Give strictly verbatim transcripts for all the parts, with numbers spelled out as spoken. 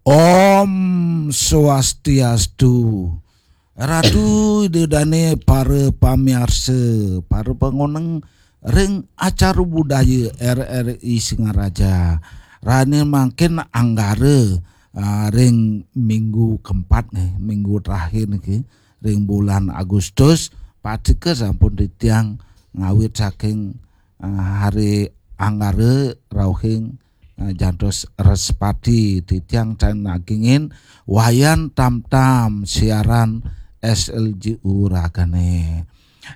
Om Swastiastu. Ratu Ida Dane, para pamiarsa, para pangoneng ring acara budaya R R I Singaraja. Rane mangkin Anggara, ah, ring minggu keempat nih, minggu terakhir niki, ring bulan Agustus, patika sampun titiang ngawit saking, ah, hari Anggara rauhing, ah, jantos Respati, titiang tan nagingin Wayan Tamtam siaran S L J U ragane.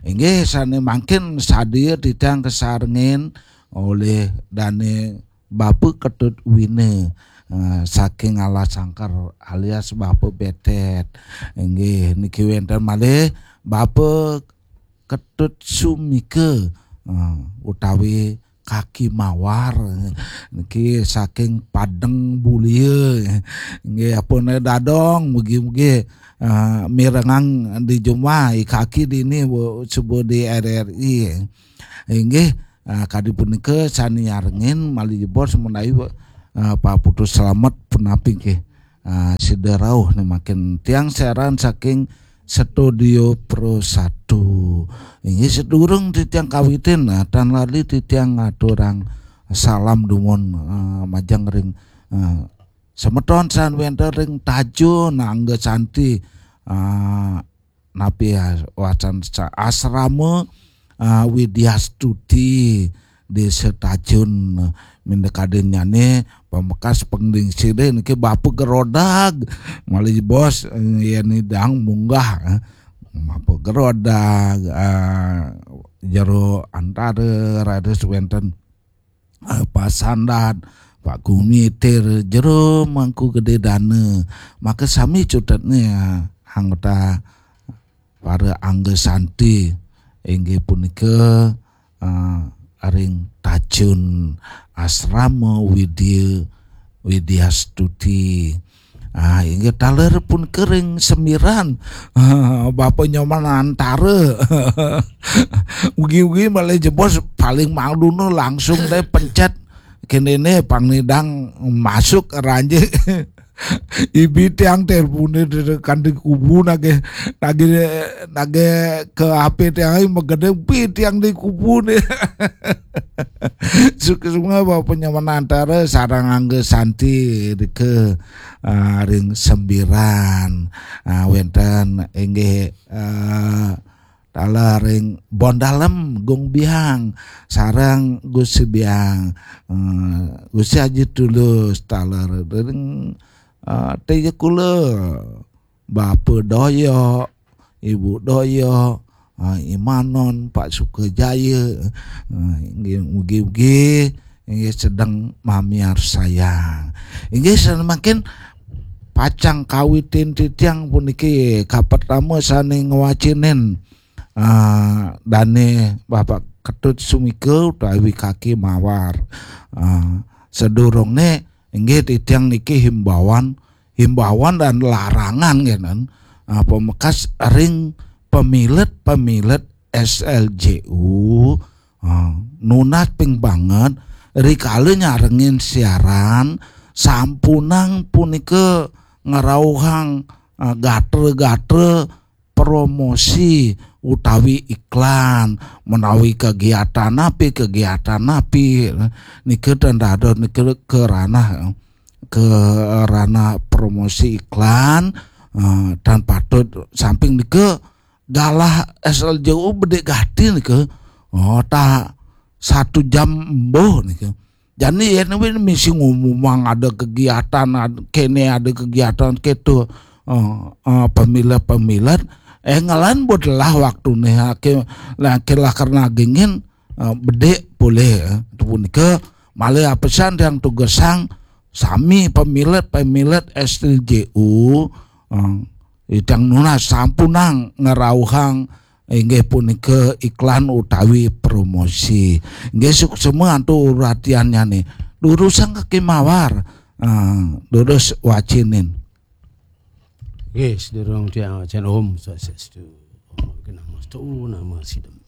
Inggih, sane mangkin sadia titiang kasarengin olih Dane Bapa Ketut Wina, eh, saking Alasangkar alias Bapa Betet. Inggih, niki wenten malih Bapa Ketut Sumika, eh, utawi Kaki Mawar. Niki saking Padeng Bulia. Inggih, apune dadong, mugi-mugi, eh, mirengang di jumah, i kaki dini, bu, suba di R R I. Inggih, eh, kadi punika sane nyarengin malih jebos menawi, eh, Pak Putu Slamet punapi nggih. Ah, sida rauh nih mangkin tiang siaran saking Studio Pro satu. Inggih, sadurung titiang kawitin, ah, tan lali titiang ngaturang salam dumun, ah, majeng ring, ah, semeton sane wenten ring Tajun, Angga Santi, ah, napi, ah, wacan sa-, asrama, ah, Widya Stuti, Desa Tajun, minda kadinnyane pamekas panglingsire niki Bapa Gerodag, malih bos, eh, yen idang munggah, eh, Bapa Gerodag, ah, Jero Antara, raris wenten, eh, Pak Sandat, Pak Gumitir, Jero Mangku Gede Dana, maka sami cutetne, eh, anggota para Angga Santi, inggih punika, eh, ring Tajun Asrama Widya, Widya Stuti. Ah, inggih taler punika ring Sembiran. Ah, Bapa Nyoman Antara. Ugi-ugi malih jebos paling mangduna langsung deh pencet. Kene ne pang nidang masuk ranjing. Ibi tiang telepone kan di kubu nage, nage, nage ke H P tiang ai magede, bi tiang di kubu ne. Suksma Bapa Nyoman Antara sareng Angga Santi dike, ah, ring Sembiran. Ah, wenten inggih, ah, taler ring Bondalem Gung Biang sareng Gusti Biang, eh, Gusti Haji Tulus, taler ring, eh, Tejekula, Bapa Doyok, Ibu Doyok, eh, Imanon, Pak Sukajaya, eh, inggih mugi-mugi inggih sedeng mamiarsayang. Inggih, sane mangkin pacang kawitin titiang puniki kapertama sane ngwacinin, ah, dane Bapak Ketut Sumika utawi Kaki Mawar. Ah, sadurungne inggih titiang niki himbauan, himbauan dan larangan ngenen. Ah, pamekas ring pamilet-pamilet S L J U, ah, nunas ping banget rikala nyarengin siaran, sampunang punika ngrauhang, ah, gatra-gatra promosi utawi iklan, menawi kegiatan api, kegiatan api, nika ten dados nika ke ranah, ke ranah promosi iklan, eh, tan patut. Samping nika galah S L J U bedik gati nika. Oh, tak satu jam embuh nika. Jani yen win misi ngumumang ada kegiatan, ad-, kene ada kegiatan keto, eh, eh, pemilet-pemilet, eh, ngelan buat lah waktune, ake, lah, ake lah karena gingin, eh, bedik boleh, eh. Itu punika malih apesan yang tugesang sami pemilet-pemilet S L J U, eh, idang nunas sampunang ngrauhang inggih punika iklan utawi promosi. Inggih suksma antuk uratiannyane. Durusang Kaki Mawar, eh, durus wacinin. Nggih, sedurung tiang wacen, Om Swastiastu. Om Awighnamastu, Namo Siddham.